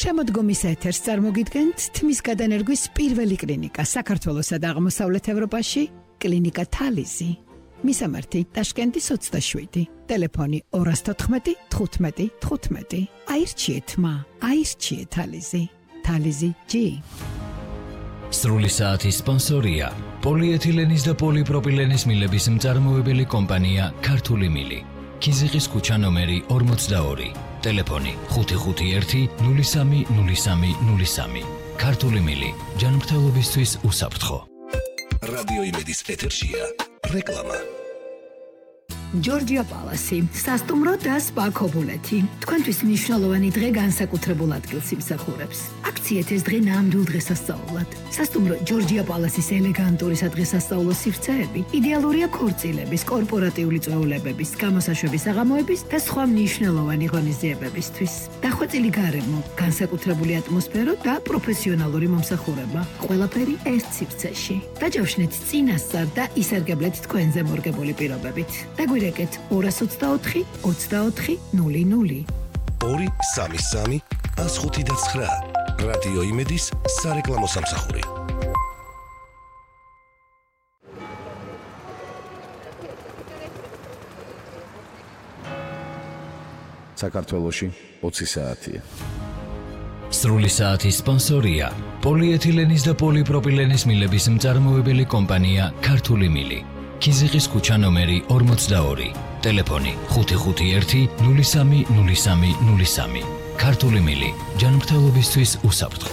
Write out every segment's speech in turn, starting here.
შემოდგომის ეთერს წარმოგიდგენთ თმის გადანერგვის პირველი კლინიკა საქართველოსა და აღმოსავლეთ ევროპაში, კლინიკა თალიზი. მისამართი ტაშკენტის 27, ტელეფონი 214 15 15. აირჩიეთ მა, აირჩიეთ თალიზი. თალიზი G. სრული საათის სპონსორია პოლიეთილენის და პოლიპროპილენის მილების მწარმოებელი კომპანია ქართული მილი. ქიზიყის ქუჩა ნომერი 42, ტელეფონი 551 03 03 03. ქართული მილი, ჯანმრთელობისთვის უსაფრთხო. რადიო იმედის ეთერშია რეკლამა. ჯორჯია პალასი, სასტუმრო და სპა ქობულეთი. თქვენთვის მნიშვნელოვანი დღე განსაკუთრებულ ადგილს იმსახურებს. აქციეთ ეს დღე ნამდვილ დღესასწაულად. სასტუმრო ჯორჯია პალასის ელეგანტური სადღესასწაულო სივრცეები იდეალურია ქორწილების, კორპორატიული წვეულებების, გამოსაშვების საღამოების და სხვა მნიშვნელოვანი ღონისძიებებისთვის. დახვეწილი გარემო, განსაკუთრებული ატმოსფერო და პროფესიონალური მომსახურება. ყველაფერი ერთ სივრცეში. დაჯავშნეთ წინასწარ და ისარგებლეთ თქვენზე მორგებული პირობებით. დაგვირეკეთ 224 24 00. 233 159. რადიო იმედის სარეკლამო სამსახური. საქართველოში 20 საათია. სრული საათის სპონსორია პოლიეთილენის და პოლიპროპილენის მილების მწარმოებელი კომპანია ქართული მილი. ქიზიყის ქუჩა ნომერი 42, ტელეფონი 551 03 03 03. ქართული მილი, ჯანმრთელობისთვის უსაფრთხო.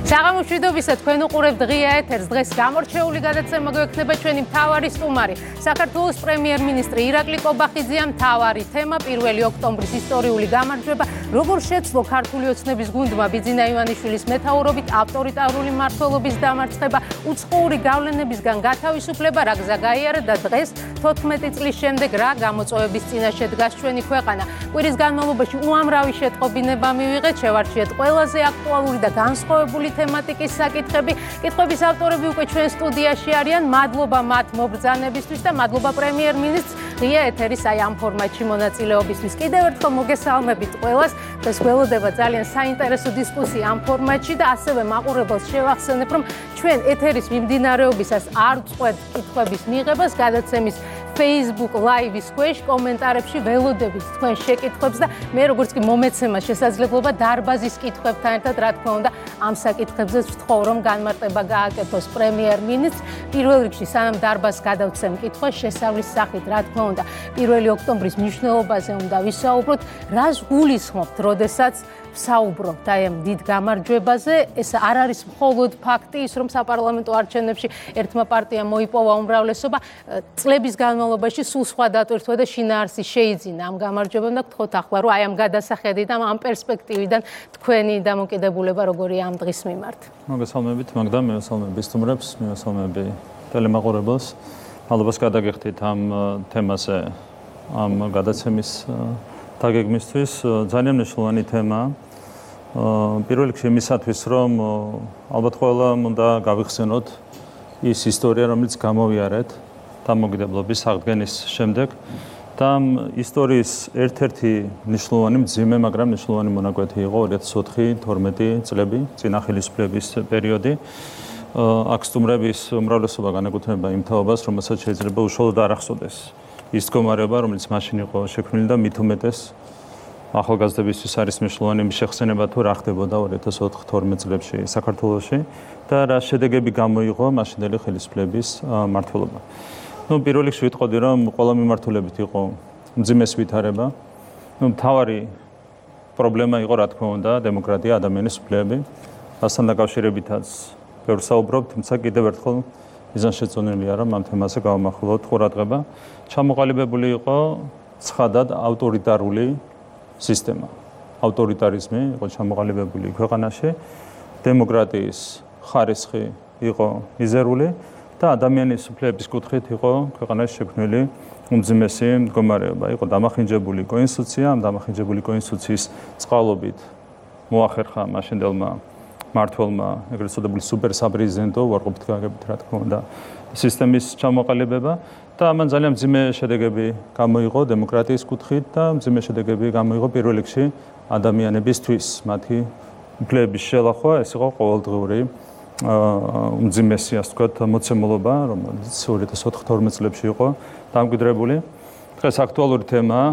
საღამოს მშვიდობისა, თქვენ უყურებთ ღია ეთერს. დღეს გამორჩეული გადაცემა გვექნება ჩვენი მთავარი სტუმარი, საქართველოს პრემიერ-მინისტრი ირაკლი კობახიძეა. მთავარი თემა 1 ოქტომბრის ისტორიული გამარჯვება, როგორ შეცვლო ქართული ოცნების გუნდმა ბიძინა ივანიშვილის მეთაურობით ავტორიტარული მმართველობის დამარცხება, უცხოური გავლენებისგან გათავისუფლება, რა გზა გაიარა და დღეს 14 წლის შემდეგ რა გამოწვევების წინაშე დგას ჩვენი ქვეყანა. კვირის განმავლობაში უამრავი შეტყობინება მივიღეთ, შევარჩიეთ ყველაზე აქტუალური და განსხვავებული თემატიკის საკითხები. კითხვების ავტორები უკვე ჩვენ სტუდიაში არიან. მადლობა მათ მობრძანებისთვის და მადლობა პრემიერ-მინისტრს ღია ეთერის ამ ფორმატში მონაწილეობისთვის. კიდევ ერთხელ მოგესალმებით ყველას. დღეს გველოდება ძალიან საინტერესო დისკუსია ამ ფორმატში და ასევე მაყურებელს შევახსენებ, რომ ჩვენ ეთერის მიმდინარეობისას არ წყვეთ კითხვების მიღებას. გადაცემის Facebook Live-ის ქვეშ კომენტარებში ველოდებით თქვენ შეკითხვებს და მე როგორც კი მომეცემა შესაძლებლობა დარბაზის კითხვებთან ერთად, რა თქმა უნდა, ამ საკითხებზე ვთხოვ, რომ განმარტება გააკეთოს პრემიერ-მინისტრს. პირველ რიგში, სანამ დარბაზს გადავცემ კითხვას, შესავლის სახით, რა თქმა უნდა, 1 ოქტომბრის მნიშვნელობაზე უნდა ვისაუბროთ, რას გულისხმობთ, როდესაც ვსაუბრობთ აი ამ დიდ გამარჯვებაზე. ეს არ არის მხოლოდ ფაქტი ის, რომ საპარლამენტო არჩევნებში ერთმა პარტიამ მოიპოვა უმრავლესობა, წლების განმავლობაში სულ სხვა დატვირთვა და შინაარსი შეიძინა ამ გამარჯვებამ და გთხოვთ ახლა, რომ აი ამ გადასახედიდან, ამ პერსპექტივიდან თქვენი დამოკიდებულება როგორია ამ დღის მიმართ. მოგესალმებით, მაგდა, მივესალმები სტუმრებს, მივესალმები ტელემაყურებელს. მადლობას გადაგიხდით ამ თემაზე, ამ გადაცემის დაგეგმისთვის. ძალიან მნიშვნელოვანი თემაა. პირველ რიგში იმისათვის, რომ ალბათ ყველამ უნდა გავიხსენოთ ის ისტორია, რომელიც გამოვიარეთ დამოუკიდებლობის აღდგენის შემდეგ და ამ ისტორიის ერთ-ერთი მნიშვნელოვანი მძიმე, მაგრამ მნიშვნელოვანი მონაკვეთი იყო 2004-12 წლები, წინა ხელისუფლების პერიოდი. აქ სტუმრების უმრავლესობა განეკუთვნება იმ თაობას, რომელსაც შეიძლება უშუალოდ არ ახსოვდეს ის მდგომარეობა, რომელიც მაშინ იყო შექმნილი და მით უმეტეს ახალგაზრდებისთვის არის მნიშვნელოვანი მიშეხსენება თუ რა ხდებოდა 2004-12 წლებში საქართველოში და რა შედეგები გამოიღო მაშინდელი ხელისუფლების მმართველობა. პირველ რიგში ვიტყოდი, რომ ყველა მიმართულებით იყო მძიმეს ვითარება. მთავარი პრობლემა იყო, რა თქმა უნდა, დემოკრატია, ადამიანის უფლებები. ასთან დაკავშირებითაც ბევრს საუბრობთ, თუმცა კიდევ ერთხელ მიზანშეწონილია, რომ ამ თემაზე გავამახვილოთ ყურადღება. ჩამოყალიბებული იყო ცხადად ავტორიტარული სისტემა. ავტორიტარიზმი იყო ჩამოყალიბებული ქვეყანაში, დემოკრატიის ხარისხი იყო მიზერული და ადამიანის უფლებების კუთხით იყო ქვეყანაში შექმნილი უმძიმესი მდგომარეობა. იყო დამახინჯებული კონსტიტუცია, ამ დამახინჯებული კონსტიტუციის წყალობით მოახერხა მაშინდელმა მმართველმა ეგრეთ წოდებული სუპერ საპრეზიდენტო უარყოფით გაგებით, რა თქმა უნდა, სისტემის ჩამოყალიბება და ამან ძალიან მძიმე შედეგები გამოიღო დემოკრატიის კუთხით და მძიმე შედეგები გამოიღო პირველ რიგში ადამიანებისთვის, მათი უფლებების შელახვა ეს იყო ყოველდღიური უმძიმესი, ასე ვთქვათ, მოცემულობა, რომელიც 2014-12 წლებში იყო დამკვიდრებული. დღეს აქტუალური თემაა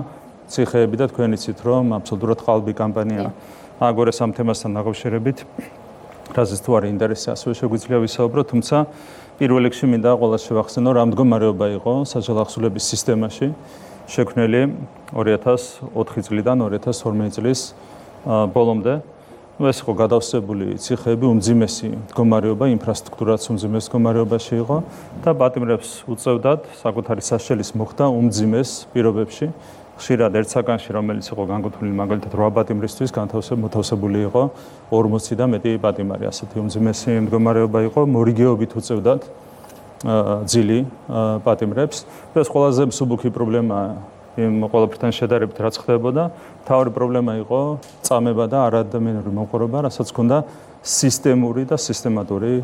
ციხეები და თქვენ იცით, რომ აბსოლუტურად ყალბი კამპანია აგორეს ამ თემასთან დაკავშირებით. რაზეც თუ არის ინტერესი, ასევე შეგვიძლია ვისაუბრო, თუმცა პირველ რიგში მინდა ყველას შევახსენო, რა მდგომარეობა იყო საჯარო ახსულების სისტემაში შექმნილი 2004 წლიდან 2012 წლის ბოლომდე. ეს იყო გადავსებული ციხეები, უმძიმესი მდგომარეობა, ინფრასტრუქტურაც უმძიმეს მდგომარეობაში იყო და პატიმრებს უწევდათ საკუთარი საშელის მოხდა უმძიმეს პირობებში. ხშირად ერთ საკანში, რომელიც იყო განკუთვნილი მაგალითად 8 პატიმრისთვის, მოთავსებული იყო 40 და მეტი პატიმარი. ასეთი უმძიმესი მდგომარეობა იყო, მორიგეობით უწევდათ ძილი პატიმრებს. ეს ყველაზე მსუბუქი პრობლემაა იმ ყველაფერთან შედარებით, რაც ხდებოდა. მთავარი პრობლემა იყო წამება და არაადამიანური მომხმარება, რასაც ჰქონდა სისტემური და სისტემატური